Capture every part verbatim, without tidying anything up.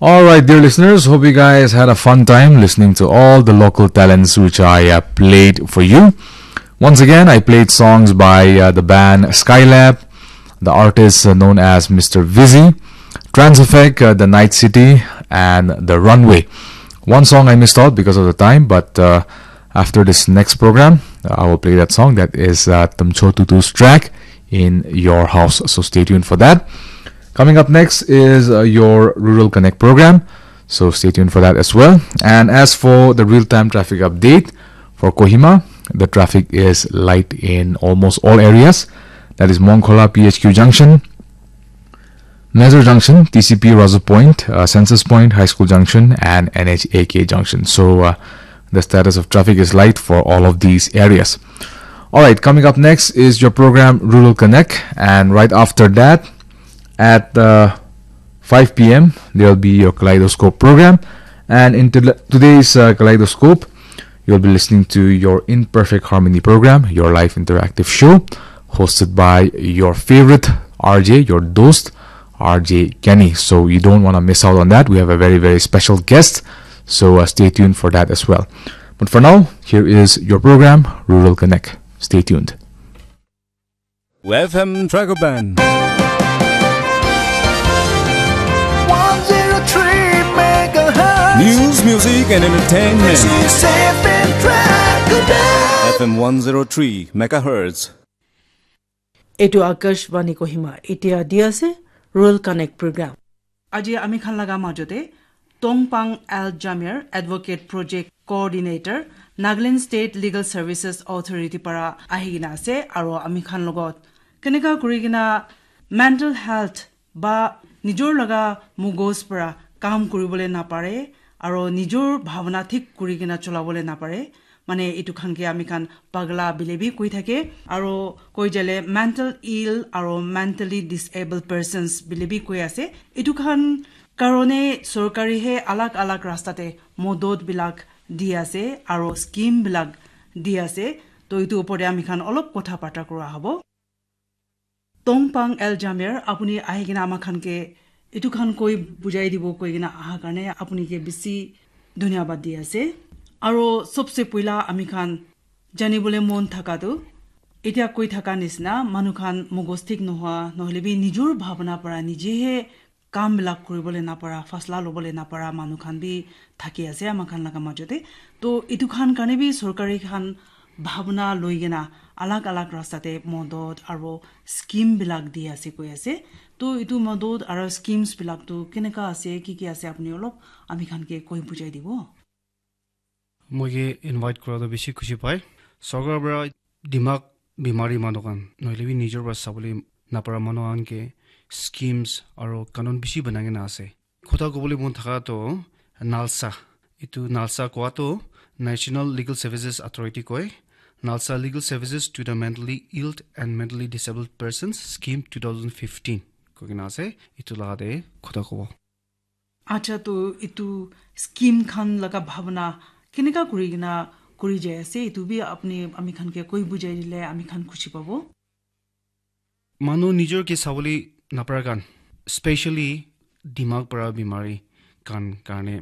All right, dear listeners, hope you guys had a fun time listening to all the local talents which I uh, played for you. Once again, I played songs by uh, the band Skylab, the artist uh, known as Mister Vizzy, Trans Effect, uh, The Night City, and The Runway. One song I missed out because of the time, but uh, after this next program, uh, I will play that song. That is uh, Tamcho Tutu's track, In Your House. So stay tuned for that. Coming up next is uh, your Rural Connect program. So stay tuned for that as well. And as for the real time traffic update for Kohima, the traffic is light in almost all areas. That is Mongkhola P H Q junction, Nazar Junction, T C P Razu Point, uh, Census Point, High School Junction, and N H A K Junction. So uh, the status of traffic is light for all of these areas. All right, coming up next is your program Rural Connect, and right after that, at uh, five p m, there'll be your Kaleidoscope program. And in today's uh, Kaleidoscope, you'll be listening to your Imperfect Harmony program, your live interactive show hosted by your favorite R J, your dost, R J Kenny. So you don't want to miss out on that. We have a very, very special guest. So uh, stay tuned for that as well. But for now, here is your program, Rural Connect. Stay tuned. F M Dragon Band. one zero three megahertz. News, music, and entertainment. This is F M Dragon Band. F M one zero three megahertz. এইটো আকাশবাণী কহিমা। এতিয়া দি আছে Rural Connect program. আজি আমি খান লগা মাজতে টংপাং এল জামিয়াৰ, Advocate Project Coordinator, Nagaland State Legal Services Authority পৰা আহি কিনা আছে আৰু আমি খান লগত কেনেকা কৰি কিনা মেণ্টেল হেল্থ বা নিজৰ লগা মগজ পৰা কাম কৰিবলৈ নাপাৰে আৰু নিজৰ ভাৱনা ঠিক কৰি কিনা চলাবলৈ নাপাৰে, মানে এইটো খানকে আমি খান পাগলা বুলিবি কৈ থাকে আৰু কৈ যালে মেণ্টেল ইল আৰু মেণ্টেলি ডিছেবল পাৰ্চনছ বুলিবি কৈ আছে। এইটো খান কাৰণে চৰকাৰীহে আলাগ আলাগ ৰাস্তাতে মদতবিলাক দি আছে আৰু স্কিমবিলাক দি আছে। তো এইটো ওপৰতে আমি খান অলপ কথা বাৰ্তা কৰা হ'ব। টংপাং এল জামিয়াৰ, আপুনি আহি কিনে আমাৰ খানকে এইটো খান কৈ বুজাই দিব কৈ কিনে অহাৰ কাৰণে আপুনিকে বেছি ধন্যবাদ দি আছে। আৰু চবচে পইলা আমি খান জানিবলৈ মন থাকাটো, এতিয়া কৈ থকা নিচিনা মানুহ খান মগজ ঠিক নোহোৱা, নহ'লে বি নিজৰ ভাৱনা পৰা নিজেহে কামবিলাক কৰিবলৈ নাপাৰা, ফাচলা ল'বলৈ নাপাৰা মানুহ খান বি থাকি আছে আমাৰ খান লগা মাজতে। তো এইটো খান কাৰণে বি চৰকাৰী খান ভাৱনা লৈ কিনা আলাগ আলাগ ৰাস্তাতে মদত আৰু স্কিমবিলাক দি আছে কৈ আছে। তো এইটো মদত আৰু স্কিমছবিলাকতো কেনেকা আছে, কি কি আছে, আপুনি অলপ আমি খানকে কৈ বুজাই দিব। Moi ke invite kura toh bishi khushi pai. Sorkar para dimag bimari manu khan, nohoile bi nijor para sabole napara manu khan ke schemes aro kanun bishi banai kena ase. Kotha kobole mon thaka toh NALSA. Etu NALSA kowa toh National Legal Services Authority koi. NALSA Legal Services to the Mentally Ill and Mentally Disabled Persons Scheme two thousand fifteen koi kena ase. Etu laga te kotha kobo. Acha, to itu scheme khan laga bhabna keneka kuri kena kuri jai ase, itu bi apni ami khan ke koi bujai dile ami khan khushi pabo. Manu nijor ke sabole napara khan, specially dimag para bimari khan karne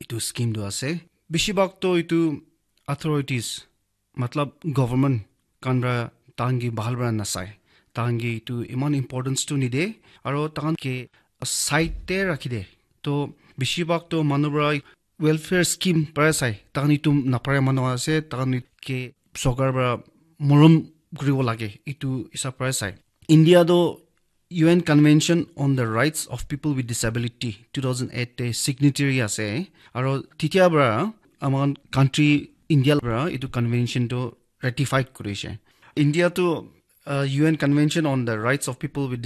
itu scheme tu ase. Bishibak to itu authorities, matlab government khan para tahan ke bhal para nasai, tahan ke itu iman importance tu nide, aro tahan ke side te rakhi de. To bishibak to manu para welfare scheme para sai, tahan itu napara manu ase, tahan ke sorkar para morom kuribo lage, itu hisab para sai. India to U N Convention on the Rights of People with Disability two thousand eight te signatory ase, aro titia para aman country India para itu convention to ratified kurishe. India to uh, U N Convention on the Rights of People with